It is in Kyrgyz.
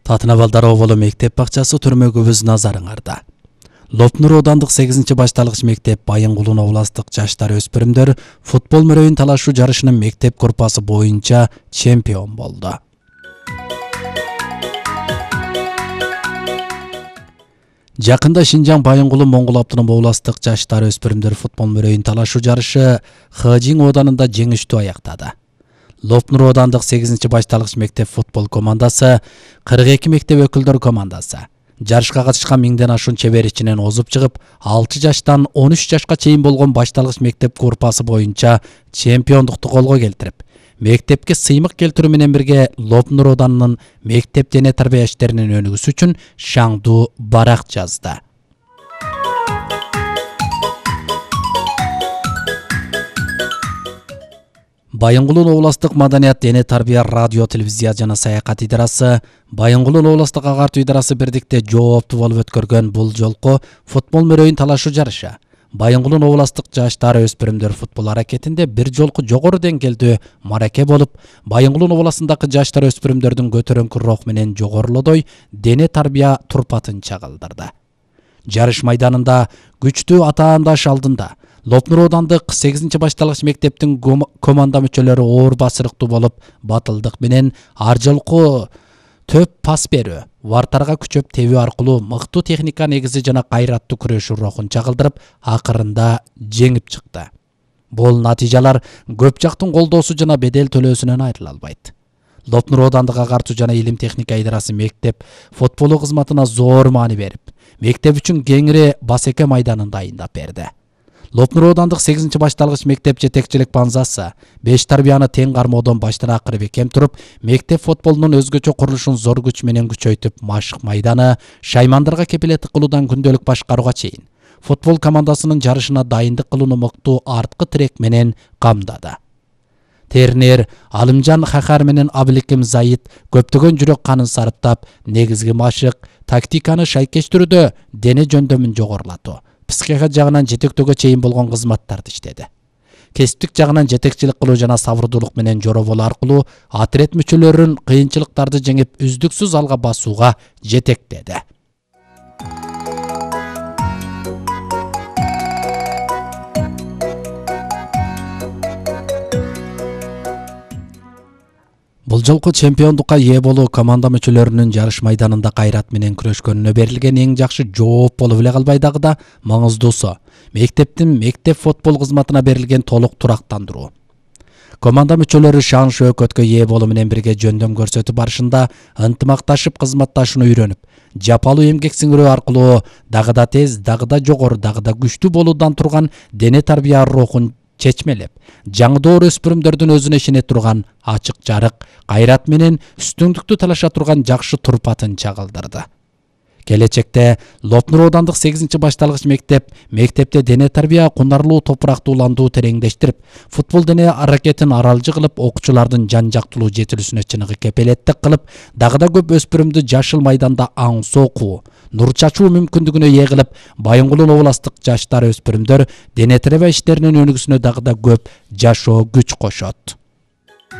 Татынабалдар Оболу мектеп бакчасы түрмөгүбүз назарыңарда. Лопнур Оодандык 8-башталгыч мектеп Байынгулун областык жаштар өспүрүмдөр футбол мөрөйүн талашуу жарышынын мектеп группасы боюнча чемпион болду. Жакында Шинжаң Байынгулун Моңгол Автоном областык жаштар өспүрүмдөр футбол мөрөйүн талашуу жарышы Хыжың Ооданында жеңиштүү аяктады. Лопнур Оодандык 8-башталгыч мектеп футбол командасы 42 мектеп өкүлдөр командасы жарышка катышкан 1000ден ашуун чебер ичинен озуп чыгып, 6 жаштан 13 жашка чейин болгон башталгыч мектеп группасы боюнча чемпиондукту колго келтирип, мектепке сыймык келтирүү менен бирге Лопнур Ооданынын мектеп дене тарбия иштеринин өнүгүүсү үчүн шаңдуу барак жазды. Байынгулун областык маданият, дене тарбия, радио, телевизия жана саякат идарасы, Байынгулун областык агартуу идарасы бирдикте жооптуу болуп өткөргөн бул жолку футбол мөрөйүн талашуу жарышы Байынгулун областык жаштар өспүрүмдөр футбол аракетинде бир жолку жогору деңгээлдүү мараке болуп, Байынгулун областындагы жаштар өспүрүмдөрдүн көтөрөңкү рух менен жогорулодой дене тарбия турпатын чагылдырды. Жарыш майданында күчтүү атаандаш алдында Лопнур Оодандык 8-башталгыч мектептин команда мүчөлөрү оор басырыктуу болуп, батылдык менен ар жолку төп пас берүү, вартарга күчөп тебүү аркылуу мыктуу техника негизи жана кайраттуу күрөшүү рухун чагылдырып, акырында жеңип чыкты. Бул натыйжалар көп жактын колдоосу жана бедел төлөөсүнөн айрыла албайт. Лопнур Оодандык агартуу жана илим техника идарасы мектеп футболу кызматына зор маани берип, мектеп үчүн кеңири басеке майданын дайындап берди. Лопнур Оодандык 8-башталгыч мектеп жетекчилик банзасы 5 тарбияны тең кармоодон баштан акыры бекем туруп, мектеп футболунун өзгөчө курулушун зор күч менен күчөйтүп, машык майданы, шаймандарга кепилеттик кылуудан күндөлүк башкарууга чейин футбол командасынын жарышына дайындык кылууну мыктуу арткы тирек менен камдады. Тернер Алымжан Хахар менен Абыликим Заид көптөгөн жүрөк канын сарыптап, негизги машык тактиканы шайкештирүүдө дене жөндөмүн жогорулатуу, психика жагынан жетектөөгө чейин болгон кызматтарды иштеди. Кесиптик жагынан жетекчилик кылуу жана сабырдуулук менен жоробол аркылуу отряд мүчөлөрүн кыйынчылыктарды жеңип, үздүксүз алга басууга жетектеди. Бул жолку чемпиондукка ээ болуу команда мүчөлөрүнүн жарыш майданында кайрат менен күрөшкөнүнө берилген эң жакшы жооп болуп эле калбай дагы да маңыздуусу мектептин мектеп футбол кызматына берилген толук турактандыруу. Команда мүчөлөрү шан шөкөткө ээ болуу менен бирге жөндөм көрсөтүп барышында ынтымакташып кызматташууну үйрөнүп, жапалуу эмгек сиңирүү аркылуу дагы да тез, дагы да жогору, дагы да күчтүү болуудан турган дене тарбия рухун чечмелеп, жаңдоор өспүрүмдөрдүн өзүнө ишене турган ачык жарык, кайрат менен үстүңдүктү талаша турган жакшы турпатын чагылдырды. Келечекте Лопнур Оодандык 8-башталгыч мектепте дене тарбия, кунарлуу топурактууландуу тереңдештирип, футбол дене аракетин аралжы кылып, окуучулардын жан жактылуу жетилүүсүнө чыныгы кепилеттик кылып, дагы да көп өспүрүмдү жашыл майданда аңсы окуу, нур чачуу мүмкүндүгүнө ээ кылып, Байынгулун областык жаштар өспүрүмдөр дене тарбия иштеринин өнүгүүсүнө дагы да көп жашоо күч кошот.